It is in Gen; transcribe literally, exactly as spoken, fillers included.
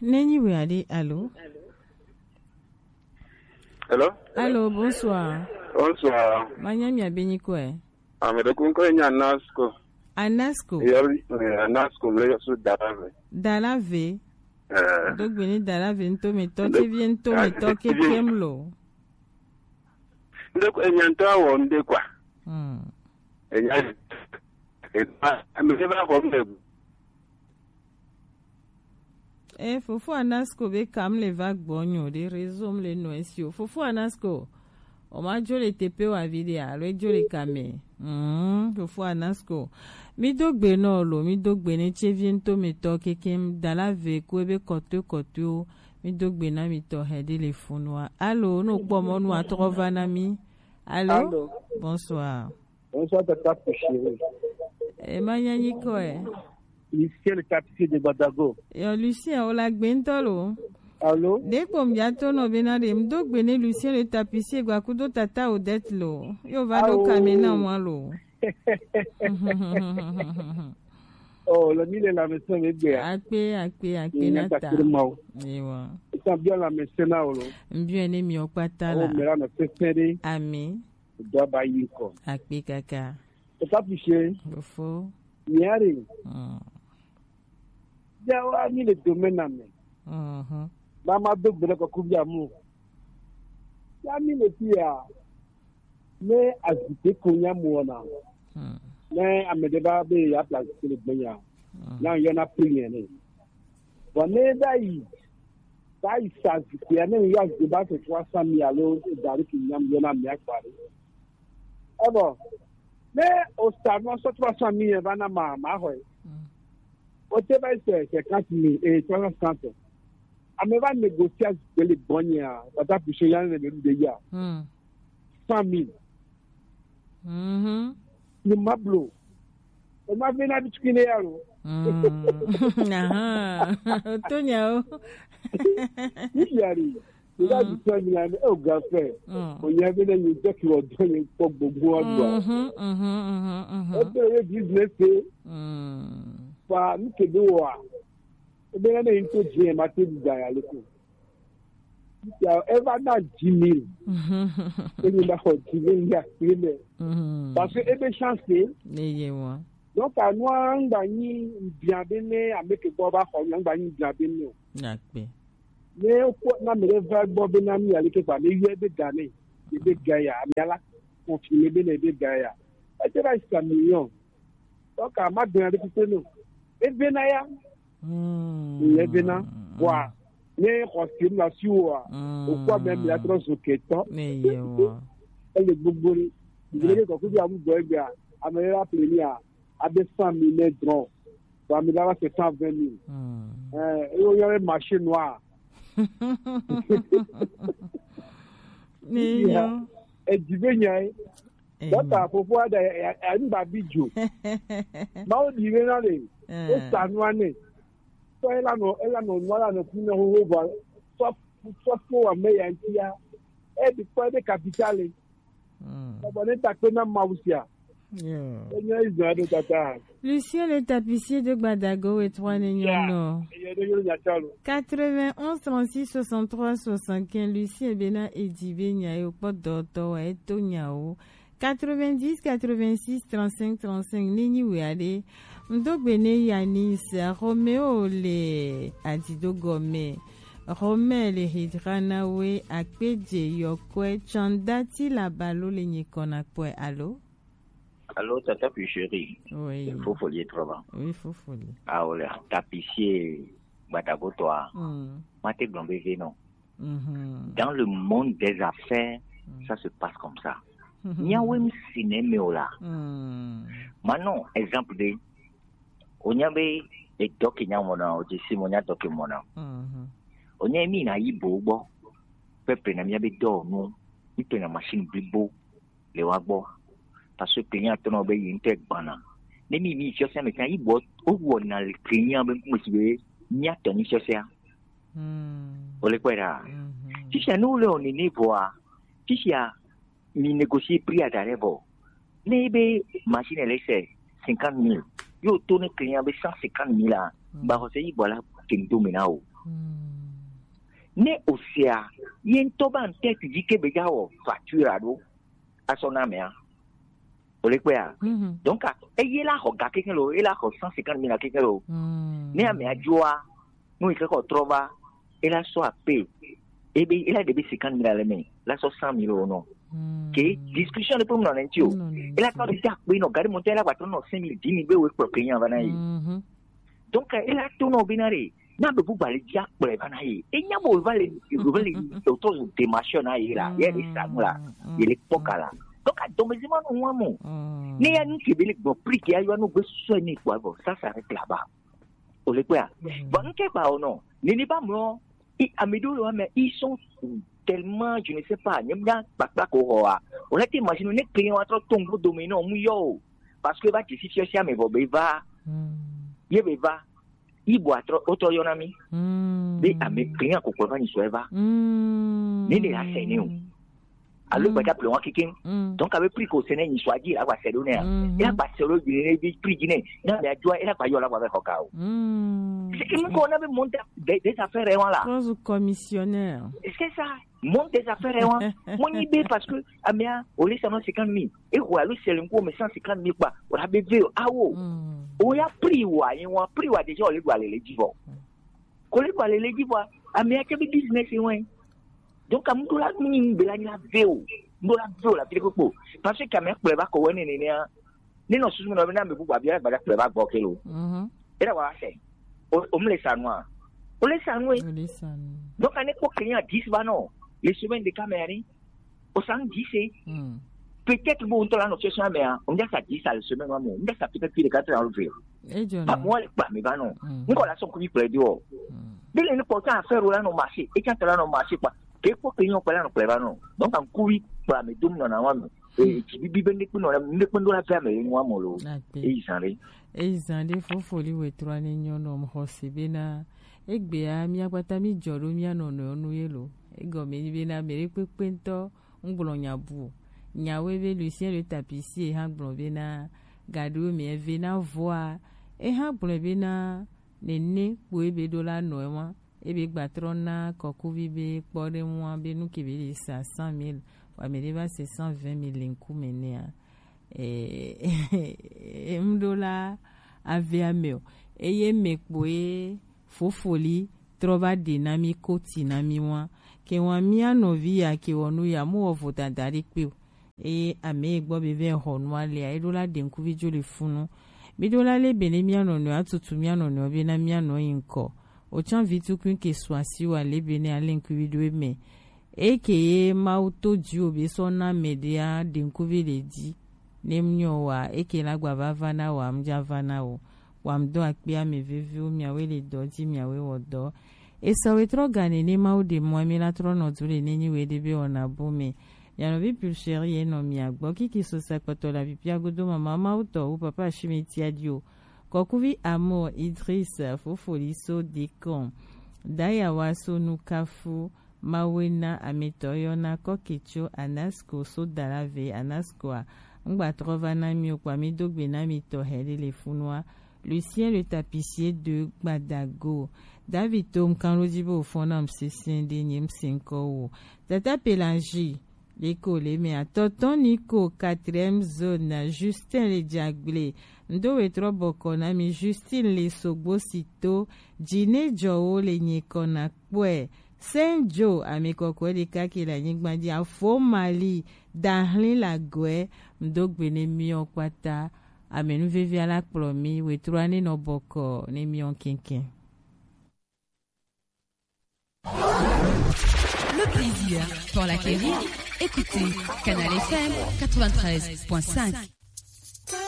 Nenyi we ade, allô? Hello? Allô, bonsoir. Bonsoir. Manya mi abenyi kwe? Amede kunko nya Anasco. Anasco. Yori, eh, Anasco, le yosu Dalave. Dalave. Eh, Dogbeni Dalave nto me to, kevie nto me to, kekem lo. nde ko enya nto awo nde kwa. Hmm. Enya. Eh, amede ba ko me. Eh, fofo Anasco be kam le va gbonyo de réseau m le no esi o. Fofo Anasco. O ma jo le tepe wa vide a, lo jo le kame. Hmm, fofo Anasco. Mi dogbe no lo, mi dogbe ne chevie nto me to, kekem Dalave ko ebe koto koto. Mi dogbe na mi to hede le funu a. Allô, no kpo mo nu atro va na mi. Allô? Allô? Bonsoir. Bonsoir, Tata Pouchéry. E ma nyanyi ko e. Lucien le tapissier de Badago. Yo, Lucien, o la gbe nto lo. Allô? De kpo mi ato no be na de, mi dogbe ne Lucien le tapissier gba kudo tata Odette lo. Yo va do Awo. Kame na mwa lo. Oh, le mille la maison me gbe. Akpe, akpe, akpe Ni na na ta ta. Kiri mau. Ewa. Ita bien la maison na olo. Mbio ne mi okpata Oh, la. me la na sefere. Ami. Do ba yi ko. Akpe kaka. Tata Pouchéry. Bofo. Niari. Hmm. Ya wa ni le domaine na me. Mhm. Ba ma dogbe ko kubia mu. Ya ni le pia. Me azite ko nya mu na. Hmm. Ne amede ba be ya place ke le gbenya. Na yo na prière ne. Bon, ne da yi. Da yi sa azite ya ne ya azite ba se trois cent mille alo dari ki nyam yo na mi akpari. E bon. Ne o sa no so trois cent mille ba na ma ma ho. Hmm. O te ba se cinquante mille et trois cent cinquante. Ame ba négocier azite le gbenya. Ba ta puisé ya ne de ya. Hmm. Cent mille. Mhm. Ni ma blo. E ma be na bi tukine ya lo. Hmm. Aha. Otonya o. Ni yari. Ni da di cent mille ame o ga fe. Hmm. O ya be na ni de ki o do ni ko gbogbo o do. Mhm, mhm, mhm, mhm. O te ye business e. Hmm. Pa ni ke do wa. E be na ni to je ma te di da ya le ko. Ya e va na dix mille. E ni na ko dix mille ya le. Mhm. Parce que e be chance e. Ne ye wa. Donc, à nous, on a une bien bien, à mettre quoi va faire, on a une bien bien. Akpe. Mais au point, na me va bon ben ami à l'équipe, mais il y a des gars, il y a des gars, mais là, confirmé ben des gars. Et c'est là, c'est un million. Donc, à ma bien avec nous. Et ben ya, Hmm. il y a ben là, quoi. Mais confirme la sur, au quoi même la trop sur que temps. Ne ye wa. Elle est bobo. Il y a des gars qui ont besoin, à me rappeler, à deux cent mille mètres grands. Ba mi dara c'est cent vingt mille. Hmm. Euh, et on y avait marché noir. Ne yo. Et du bien, hein. Eh, Donc, à propos, à une babijo. Ma o dire, là, les, eh. Et ça, nous, on est. So, elle a non, elle a non, nous, là, nous, nous, nous, nous, soit, soit pour un meilleur, il y a, et du point de capital, Hmm. on est à peine à Maousia. Yo. Et nous, ils ont des tata. Lucien le tapissier de Gbadago et trois Nignon. Et il y a des gens qui attendent. Quatre-vingt-onze trente-six soixante-trois soixante-quinze. Lucien Bena Edibe Nyayo Podoto Eto Nyao. Quatre-vingt-dix quatre-vingt-six trente-cinq trente-cinq. Nini Weade. Mdogbene Yanis Romeo le Adido Gome. Romain le Hidranawe Akpedje Yokwe Chandati Labalo le Nyikona Kwe. Allô? Allô, Tata Pucherie. Oui. Fofoli trois ans. Oui, Fofoli. Ah, voilà. Tapissier, Batagotoa. Hmm. Mate Gombe Venon. Mhm. Dans le monde des affaires, ça se passe comme ça. Nyawe msine meola. Hmm. Maintenant, exemple de, on y avait et doc il y a mon an, au décim, on y a doc mon an. Mhm. On y a mis na ibo, bon. Peuple na mi abe do, non. Il peut na machine bibo, le wagbo. Parce que client, ton obe, il était bana. Ne mi, mi, sur ça, mais quand il boit, au bout, na le client, ben, comme si, il y a ton, sur ça. Hmm. Ole kwera. Mhm. Sisi a nou le on niveau a. Sisi a mi négocier prix à ta level. Ne be machine elle c'est cinquante mille. Yo tourne client avec cent cinquante mille là. Ba ko se ibo la kendo mena o. Ne osea, ye ŋutɔ ba ŋtɛ tu dzi ke be dza wɔ facture aɖo asɔ na amea. Ole kpea? Donc, a, eye la xɔ ga keke lo, ela xɔ cent cinquante mille keke lo. Ne amea dzoa, nu yi ke kɔ trɔ va, ela sɔ ape, ebe, ela ɖe be cinquante mille le me, la sɔ cent mille wo nɔ. Ke discussion ɖe ƒe mu nɔ ne ŋuti o. Ela tɔ ɖe ta kpe nɔ, gari mɔtɔ ela gba trɔ nɔ cinq mille, dix mille be wo kplɔ ke nya va na yi. Donc, ela to nɔ be na ɖe, na be bu gba le dzi akplɔe va na yi. Enya bo va le, va le, to zo de machine na yi la, ye le sa nu la, ye le kpɔ ka la. Donc, a dɔmezi ma nɔ wa mo. Ne ya nu ke be le gbɔ prix ke ya yɔ nu gbe sɔ ni kpɔ bɔ, ça s'arrête là-bas. Ole kpea? Bon, nke ba ono. Nini ba mlo. I, ame ɖewo le wa me, ils sont tellement, je ne sais pas, nyem nya kpakpa ko ho a. Ole te imagine ne client wa trɔ to ŋgbo dome no mu yo. Parce que va ti si si ame vɔ be va. Ye be va. Ibo atrɔ, o trɔ yɔ na mi. Be ame client ko ko va ni so eva. Ni ne la se ni o. Alo gba ta ple wa kikin. Donc, avec prix ko sene ni so aji la gba se do ne. Ya gba se do bi ne bi prix ne. Na me ajo e la gba yo la gba be ko ka o. C'est que nous on avait monté des, des affaires, hein, là. Prose commissionnaire. Est-ce que ça monte des affaires, hein? Mon idée, parce que amia, au lieu de cinquante mille, et quoi, le seul coup, mais cent cinquante mille quoi. On a besoin, ah, oh. On a pris, ouais, on a pris, ouais, déjà, on les doit aller, les divos. Ko le gba le le dzi vɔa, ame ya ke be business wɔe. Donc, amu ɖo la mi nyi be la nyi la ve o. Ɖo la ve o la fi ɖe kpokpo. Parce que ame kplɔe va kɔ wɔ ne nene a. Ne nɔ susu me nɔ be na ame bubu abia gbada kplɔe va gbɔ ke lo. E da wa se. O, o mle sa nua. O le sa nue. Donc, ane kpɔ client dix va nɔ. Le semaine de caméra ni. O san dix. Peut-être bo ŋutɔ la nɔ session me a. O ŋdza sa dix à la semaine wa mo. Ŋdza sa peut-être plus de quatre cents euros. Ba mo le kpa mi va nɔ. Ŋkɔ la sɔn kuvi kplɔe do. Bi le ne kpɔ ta affaire la nɔ marché. E ta la nɔ marché kpa. Ke kpɔ ke nyɔ kpɔ la nɔ kplɔe va nɔ. Donc an kuvi kpla mi dom nɔ na wa mi. E ti bibi be ne kpɔ nɔ la, ne kpɔ ndo la fɛ me le nwa mo lo. E zan re. E zan re fofoli we trɔ ne nyɔ nɔ mo xɔ se be na. Egbea, mía kpata mí dzɔ ɖo mía nɔnɔewo nu ye lo. Egɔme nyi bena mɛ ɖe kpekpe ŋutɔ ŋgblɔ nya bu o. Nyawoe be Lucien le Tapissier hã gblɔ bena, gaɖewo mɛ eve na vɔa, ehã gblɔe bena, nene kpoe be ɖo la nɔ ema, ebe gbatrɔ na kɔkuvi be kpɔɖeŋua be nu ke be le sa cent mille, vɔ amɛ ɖe va se cent vingt mille le ŋkume nɛa. Eh, ŋɖo la avea me o. Eye me kpoe fofoli trɔ va ɖe na mí koti na mí wa. Ke wa mía nɔvi ya ke wɔ nu ya mu wɔ vodada ɖe kpe o. Eye ame yi gbɔ be vɛ xɔ nua lea, eɖo la ɖe ŋkuvi dzo le funu. Mí ɖo la le be ne mía nɔnɔe atutu mía nɔnɔe be na mía nɔ yi ŋkɔ. O tsã vi tukui ke su asi wa le be ne ale ŋkuvi ɖo eme. Eke ye Mawu to dziwò be sɔ na mɛ ɖea ɖe ŋkuvi le dzi. Ne mu nyɔ wa, eke la gba va va na wa, mu dza va na wo. Wa mu dɔ akpe ame veviwo, miawoe le dɔ dzi, miawoe wɔ dɔ. Esau etrɔ ga nene Mawu ɖe mɔ mi la trɔ nɔ du le ne nyi we ɖe be wɔna bo me. Mianɔvi Pulcheri ye nɔ mia gbɔ kiki so sakpɔtɔ la pipia godo mama Mawu tɔ wu papa Shimeti adio. Kɔkuvi Amor Idris, fofoli so Decon. Dayawa so Nukafu, Mawe na ametɔ yɔna kɔke tso Anasco so Dalave Anascoa. Ŋgbatrɔ va na mi o kpa mi do gbe na mi tɔ hɛ ɖe le funua. Lucien le Tapissier de Gbadago. David to ŋkan ɖo dzi be wòfɔ nam sesẽ ɖe nye ŋsɛnkɔ wo. Tata Pelagie, le ko le mɛ atɔtɔ ni ko quatrième zone, Justin le Djagble. Ŋdo wetrɔ bɔkɔ na mi Justine le Sogbo Sito. Dzi ne dzɔ wo le nye kɔ na kpɔe. Saint Joe, ame kɔkɔe ɖeka ke le anyigba dzi, afɔ Mali, dahlin le agɔe, ŋdo gbe ne miɔ kpata, ame nuvevia la kplɔ mi, wetrɔa ne nɔ bɔkɔ ne miɔ kɛnkɛn. Le plaisir pour l'acquérir, écoutez Canal F M quatre-vingt-treize point cinq.